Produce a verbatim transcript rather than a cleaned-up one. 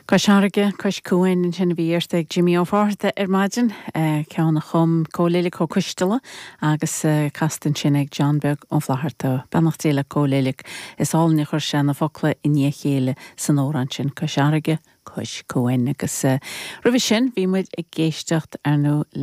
Cois Fharraige, Cois Cuain ansin a bhí iarrtha ag Jimmy Ó Fátharta ar maidin, ceann a chum Cóil Uillic Ó Coisteala agus casta ansin ag John Beag Ó Flatharta. Beannacht Dé le Cóil Uillic is álainn a chuir sé na focla i ndiaidh a chéile san amhrán sin Cois Fharraige, Cois Cuain agus roimhe sin bhí muid ag éisteacht ar nó le